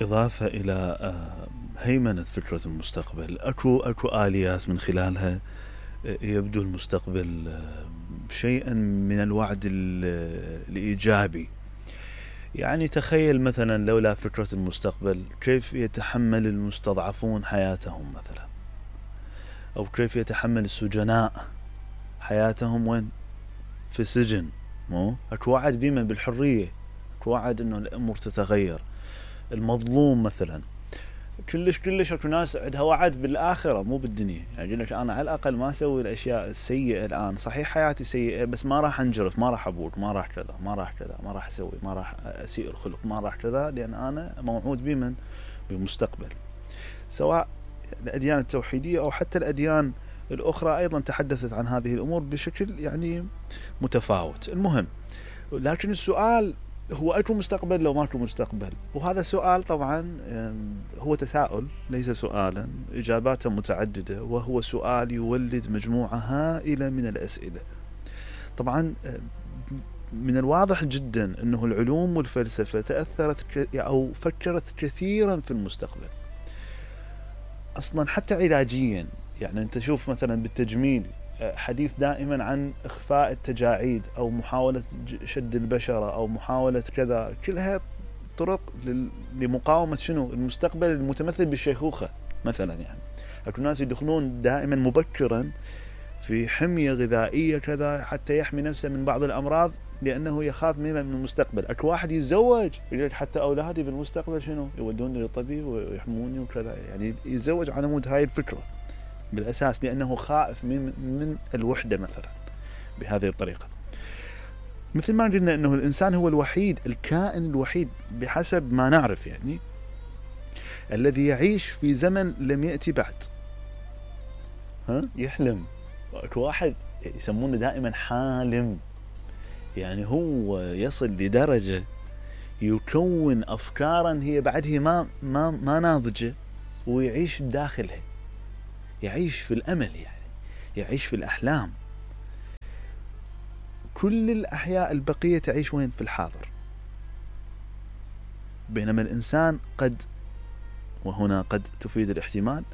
إضافة إلى هيمنة فكرة المستقبل، أكو آليات من خلالها يبدو المستقبل شيئا من الوعد الإيجابي. يعني تخيل مثلا لولا فكرة المستقبل كيف يتحمل المستضعفون حياتهم مثلا، أو كيف يتحمل السجناء حياتهم وين؟ في سجن. أكو وعد بيمن بالحرية، أكو وعد إنه الأمور تتغير. المظلوم مثلا كلش اكو ناس عندها وعد بالآخرة مو بالدنيا، يعني يقول لك أنا على الأقل ما أسوي الأشياء السيئة الآن، صحيح حياتي سيئة بس ما راح أنجرف، ما راح أبوق، ما راح كذا، ما راح كذا، ما راح أسوي، ما راح أسيء الخلق، ما راح كذا، لأن أنا موعود بمن؟ بالمستقبل. سواء الأديان التوحيدية أو حتى الأديان الأخرى أيضا تحدثت عن هذه الأمور بشكل يعني متفاوت. المهم، لكن السؤال هو أكو مستقبل لو ماكو مستقبل؟ وهذا سؤال طبعا هو تساؤل ليس سؤالا، إجاباته متعددة، وهو سؤال يولد مجموعة هائلة من الأسئلة. طبعا من الواضح جدا أنه العلوم والفلسفة تأثرت أو فكرت كثيرا في المستقبل أصلا حتى علاجيا. يعني أنت شوف مثلا بالتجميل حديث دائما عن إخفاء التجاعيد أو محاولة شد البشرة أو محاولة كذا، كلها طرق لمقاومة شنو؟ المستقبل المتمثل بالشيخوخة مثلا. يعني أكو ناس يدخلون دائما مبكرا في حمية غذائية كذا حتى يحمي نفسه من بعض الأمراض لأنه يخاف من المستقبل. أكو واحد يتزوج يقول حتى أولادي بالمستقبل شنو؟ يودوني للطبيب ويحموني وكذا، يعني يتزوج على مود هاي الفكرة بالأساس لأنه خائف من الوحدة مثلا بهذه الطريقة. مثل ما قلنا أنه الإنسان هو الوحيد، الكائن الوحيد بحسب ما نعرف يعني الذي يعيش في زمن لم يأتي بعد. يحلم. أكو واحد يسمونه دائما حالم، يعني هو يصل لدرجة يكون أفكارا هي بعدها ما ناضجة ويعيش بداخلها، يعيش في الأمل، يعني يعيش في الأحلام. كل الأحياء البقية تعيش وين؟ في الحاضر. بينما الإنسان قد، وهنا قد تفيد الاحتمال،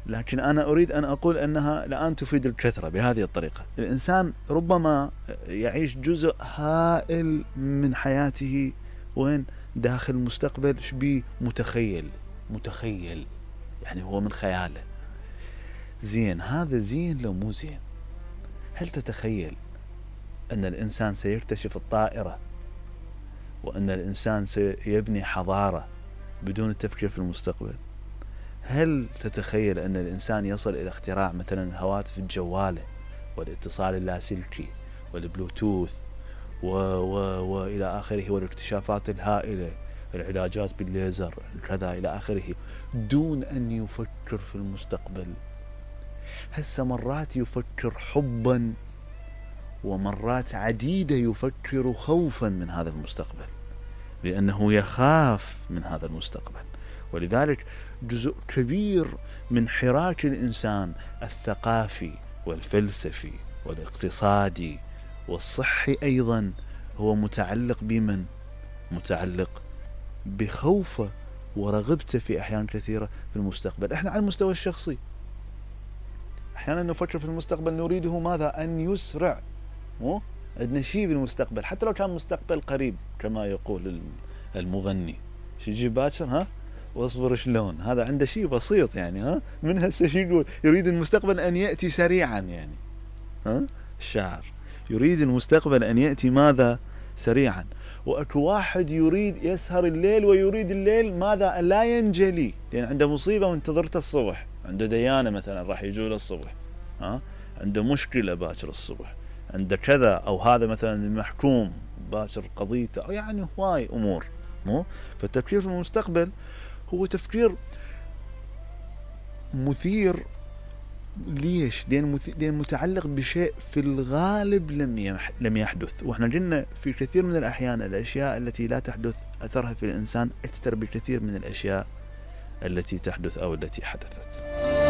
لكن أنا أريد أن أقول أنها الآن تفيد الكثرة. بهذه الطريقة الإنسان ربما يعيش جزء هائل من حياته وين؟ داخل مستقبل شبيه متخيل، يعني هو من خياله. زين، هذا زين لو مو زين؟ هل تتخيل أن الإنسان سيكتشف الطائرة وأن الإنسان سيبني حضارة بدون التفكير في المستقبل؟ هل تتخيل أن الإنسان يصل إلى اختراع مثلا الهواتف الجوالة والاتصال اللاسلكي والبلوتوث وإلى آخره، والاكتشافات الهائلة، العلاجات بالليزر كذا إلى آخره، دون أن يفكر في المستقبل؟ هسه مرات يفكر حبا ومرات عديدة يفكر خوفا من هذا المستقبل، لأنه يخاف من هذا المستقبل. ولذلك جزء كبير من حراك الإنسان الثقافي والفلسفي والاقتصادي والصحي أيضا هو متعلق بمن؟ متعلق بخوفه ورغبته في أحيان كثيرة في المستقبل. احنا على المستوى الشخصي أحيانا نفكر في المستقبل نريده ماذا؟ أن يسرع. عندنا شيء بالمستقبل حتى لو كان مستقبل قريب كما يقول المغني، شيء باكر واصبر شلون، هذا عنده شيء بسيط يعني من هسه شيء يقول يريد المستقبل أن يأتي سريعا، يعني الشاعر يريد المستقبل أن يأتي ماذا؟ سريعا. وأكو واحد يريد يسهر الليل ويريد الليل ماذا؟ لا ينجلي، لأن يعني عنده مصيبة وانتظرته الصبح، عنده ديانة مثلا راح يجوله الصبح، عنده مشكلة باكر الصبح، عنده كذا، أو هذا مثلا المحكوم باكر قضيته، أو يعني هواي أمور. فالتفكير في المستقبل هو تفكير مثير. ليش؟ لأن متعلق بشيء في الغالب لم يحدث. وإحنا قلنا في كثير من الأحيان الأشياء التي لا تحدث أثرها في الإنسان أكثر بكثير من الأشياء التي تحدث أو التي حدثت.